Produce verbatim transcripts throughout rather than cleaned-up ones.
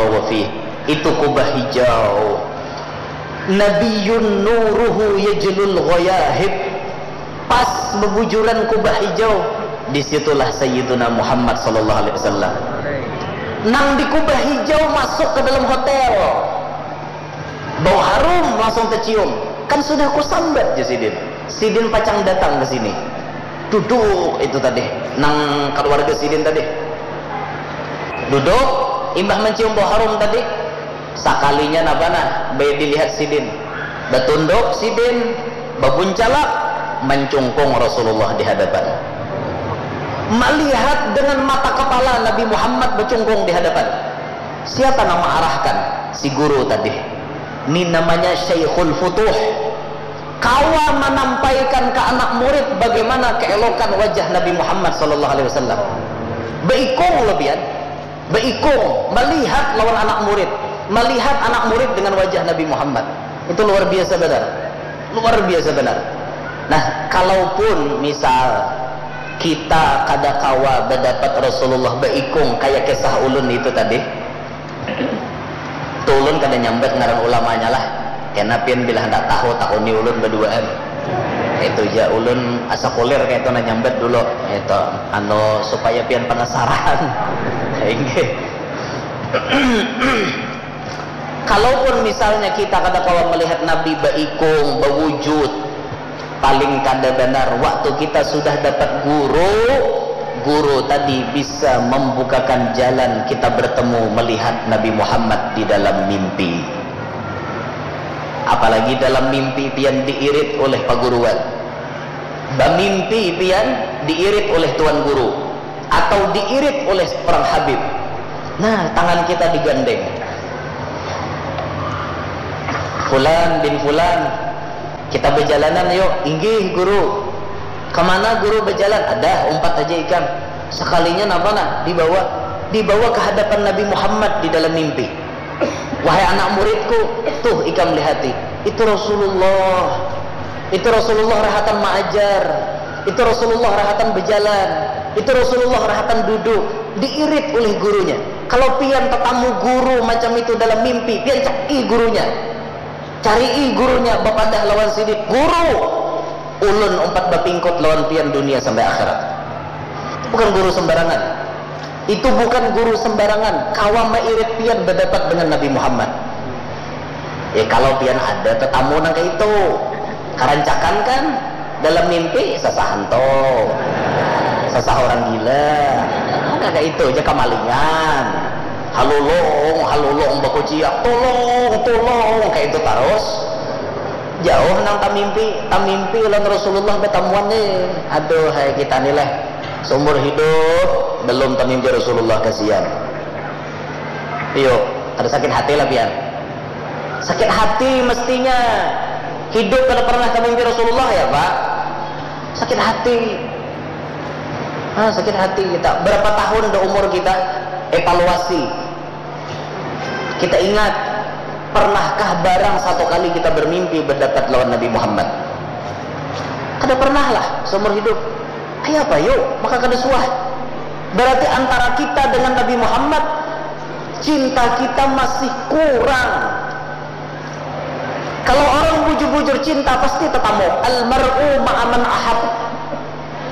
wa fih. Itu kubah hijau. Nabiyun nuruhu yajlul ghayahib. Pas bebujuran kubah hijau, di situlah Sayyiduna Muhammad sallallahu alaihi wasallam. Nang di kubah hijau masuk ke dalam hotel. Bau harum langsung tercium. Kan sudah kusambat, jar sidin. Sidin pacang datang ke sini. Duduk itu tadi, nang keluarga sidin tadi. Duduk, imbah mencium bau harum tadi, sakalinya napa nah, baik dilihat sidin. Batunduk sidin, babuncalak, mencungkung Rasulullah di hadapan. Melihat dengan mata kepala Nabi Muhammad bercungkung di hadapan. Siapa nama arahkan? Si guru tadi. Ini namanya Syaikhul Futuh. Kawa menampaikan ke anak murid bagaimana keelokan wajah Nabi Muhammad sallallahu alaihi wasallam. Beikung lebihan, beikung melihat lawan anak murid, melihat anak murid dengan wajah Nabi Muhammad. Itu luar biasa benar. Luar biasa benar. Nah, kalaupun misal kita kada kawa berdapat Rasulullah beikung kayak kisah ulun itu tadi, Tulun kada nyambat ngaran ulamanya lah. Kena pian bila handak tahu, tahuni ulun baduaan. Itu ja ulun asa kulir kaitu nah nyambat dulu. Itu anu supaya pian penasaran. Inggih. Kalaupun misalnya kita kada kawa melihat Nabi baikung, bawujud, paling kada banar waktu kita sudah dapat guru, guru tadi bisa membukakan jalan kita bertemu melihat Nabi Muhammad di dalam mimpi. Apalagi dalam mimpi pian diirit oleh paguruan. Bamimpi pian diirit oleh tuan guru atau diirit oleh seorang habib. Nah, tangan kita digandeng. Fulan bin Fulan, kita bejalanan yuk. Inggih guru. Kemana guru bejalan? Ada, umpat aja ikam. Sekalinya napa nah? Dibawa, dibawa ke hadapan Nabi Muhammad di dalam mimpi. Wahai anak muridku, tuh ikam lihati, itu Rasulullah. Itu Rasulullah rahatan maajar. Itu Rasulullah rahatan bejalan. Itu Rasulullah rahatan duduk. Diirit oleh gurunya. Kalau pian tetamu guru macam itu dalam mimpi, pian cari gurunya. Cari gurunya, bapadah lawan sidin, guru, ulun umpat bapingkut lawan pian dunia sampai akhirat. Itu bukan guru sembarangan. Itu bukan guru sembarangan, kawa mairit pian badapat dengan Nabi Muhammad. Ya, kalau pian ada tetamu nang kaitu, karancakan kan? Dalam mimpi, sasah hantu, sasah orang gila, nggak kayak itu aja, kamalingan, halulung halulung bakuciak, tulung tulung, kayak itu terus. Jauh nang tamimpi, tamimpi lawan Rasulullah batamuan nih. Aduh, hai kita nih leh, seumur hidup belum tamimpi Rasulullah, kasihan. Iyo, ada sakit hati lah pian. Sakit hati mestinya. Hidup kada pernah tamimpi Rasulullah ya, Pak? Sakit hati. Ah, sakit hati kita. Berapa tahun dah umur kita? Evaluasi. Kita ingat, pernahkah barang satu kali kita bermimpi berdapat lawan Nabi Muhammad? Kada pernah lah seumur hidup. Ayapa yuk? Maka kada suah. Berarti antara kita dengan Nabi Muhammad, cinta kita masih kurang. Kalau orang bujur-bujur cinta, pasti tetamu. Al mar'u ma'aman ahab.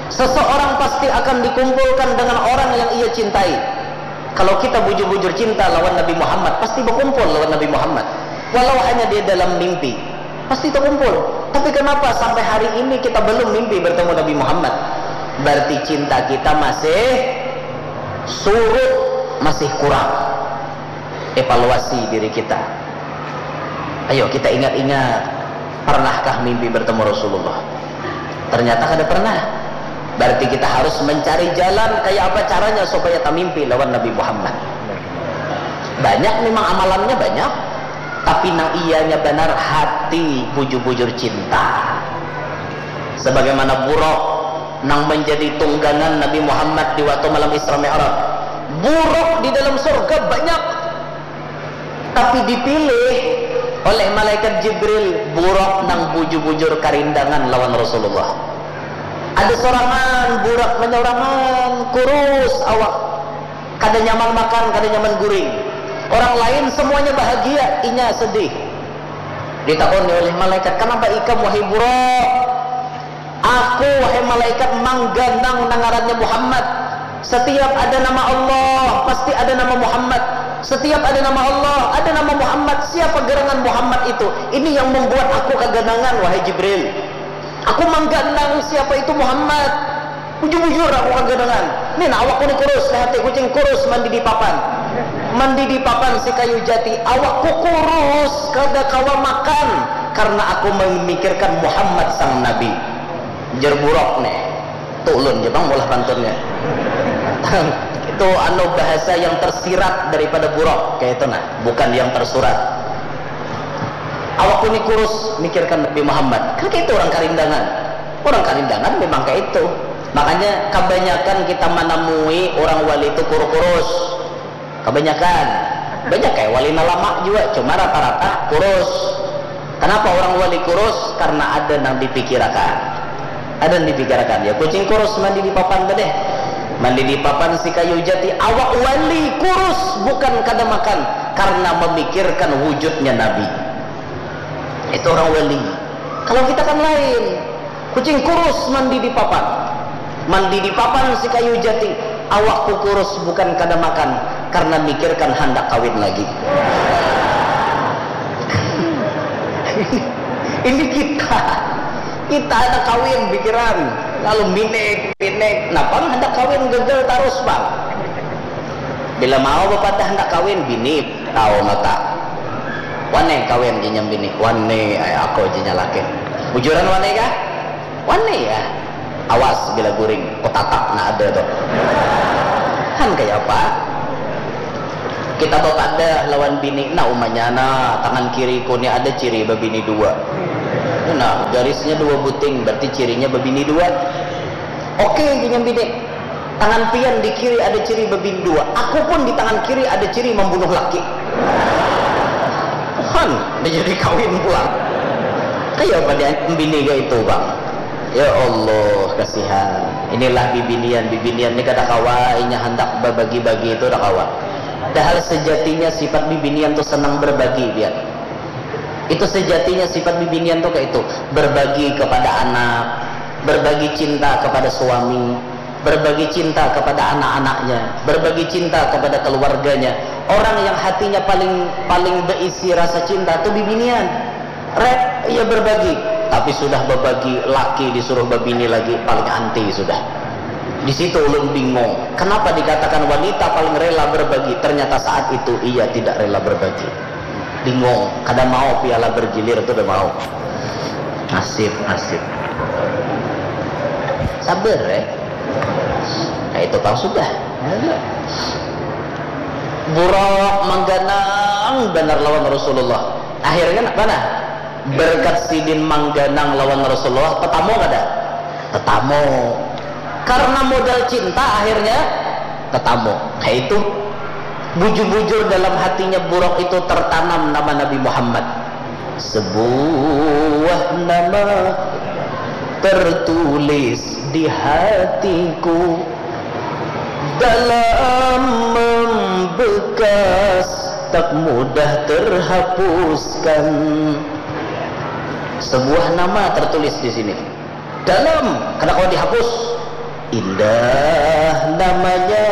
Seseorang pasti akan dikumpulkan dengan orang yang ia cintai. Kalau kita bujur-bujur cinta lawan Nabi Muhammad, pasti berkumpul lawan Nabi Muhammad. Walau hanya dia dalam mimpi, pasti terkumpul. Tapi kenapa sampai hari ini kita belum mimpi bertemu Nabi Muhammad? Berarti cinta kita masih surut, masih kurang. Evaluasi diri kita. Ayo kita ingat-ingat, pernahkah mimpi bertemu Rasulullah? Ternyata kada pernah. Berarti kita harus mencari jalan kayak apa caranya supaya tamimpi lawan Nabi Muhammad. Banyak memang amalannya, banyak, tapi nang iyanya banar hati bujur-bujur cinta. Sebagaimana Buraq nang menjadi tunggangan Nabi Muhammad di waktu malam Isra Mi'raj. Buraq di dalam surga banyak, tapi dipilih oleh malaikat Jibril Buraq nang bujur-bujur karindangan lawan Rasulullah. Ada sorangan Buraq, manyaurangan, kurus awak, kada nyaman makan, kada nyaman guring. Orang lain semuanya bahagia, inya sedih. Ditakoni oleh malaikat, "Kanapa ikam, wahai buruk?" "Aku, wahai malaikat, mangganang nang ngarannya Muhammad. Setiap ada nama Allah, pasti ada nama Muhammad. Setiap ada nama Allah, ada nama Muhammad. Siapa gerangan Muhammad itu? Ini yang membuat aku kaganangan, wahai Jibril. Aku mangganang siapa itu Muhammad. Bujur-bujur aku kaganangan. Nih, nah, awakku ni kurus, lihati kucing kurus mandi di papan. Mandi di papan si kayu jati, awakku kurus, kada kawa makan karena aku memikirkan Muhammad sang Nabi." Jer buruk nih. Tulun je bang mulah pantunnya. Itu anu bahasa yang tersirat daripada buruk, kayak itu nah, bukan yang tersurat. "Awakku ni kurus, mikirkan Nabi Muhammad." Kan kayak itu orang Karindangan. Orang Karindangan memang kayak itu. Makanya kebanyakan kita menemui orang wali itu kuru-kurus. Kebanyakan. Banyak kayak wali nang lama juga, cuma rata-rata kurus. Kenapa orang wali kurus? Karena ada nang dipikirakan. Ada nang dipikirakan. Ya, kucing kurus mandi di papan tuh deh. Mandi di papan si kayu jati, awak wali kurus bukan kada makan karena memikirkan wujudnya Nabi. Itu orang wali. Kalau kita kan lain. Kucing kurus mandi di papan. Mandi di papan si kayu jati. Awakku kurus bukan kada makan karena mikirkan handak kawin lagi. Ini kita. Kita ada kawin pikiran. Lalu minik, minik. Nah, pang handak kawin gagal terus, Bang. Bila mau bapadah handak kawin, bini, tahu nota. Wane kawin jinya bini, wane, ay, aku jinya laki. Bujuran wane kah? Wane ya. Awas bila guring, kutatap na ada tuh. Han kayak apa? Kita bapadah lawan bini, nah umanya nah, tangan kiriku ni ada ciri babini dua. Nah, garisnya dua buting, berarti cirinya babini dua. Oke, gini bini. Tangan pian di kiri ada ciri babini dua. Aku pun di tangan kiri ada ciri membunuh laki. Han, dia jadi kawin pulang. Kayak apa dia bini kayak itu, Bang? Ya Allah, kasihan. Inilah bibinian, bibinian ini kada kawa, inya handak babagi-bagi itu kada kawa. Padahal sejatinya sifat bibinian tuh senang berbagi, biar. Itu sejatinya sifat bibinian tuh kayak itu, berbagi kepada anak, berbagi cinta kepada suami, berbagi cinta kepada anak-anaknya, berbagi cinta kepada keluarganya. Orang yang hatinya paling paling berisi rasa cinta tuh bibinian. Rek, ia berbagi, tapi sudah berbagi, laki disuruh berbini lagi, paling anti sudah. Di situ ulun bingung, kenapa dikatakan wanita paling rela berbagi, ternyata saat itu ia tidak rela berbagi. Bingung, kada mau piala bergilir tuh udah mau. Nasib, nasib. Sabar ya. Nah, itu pang sudah. Buruk mangganang benar lawan Rasulullah. Akhirnya nak mana? Berkat sidin mangganang lawan Rasulullah, tetamu kada? Tetamu. Karena modal cinta akhirnya tetamu. Kayak itu. Bujur-bujur dalam hatinya buruk itu tertanam nama Nabi Muhammad. Sebuah nama tertulis di hatiku, dalam membekas tak mudah terhapuskan. Sebuah nama tertulis di sini. Dalam, kada kawa dihapus. Indah namanya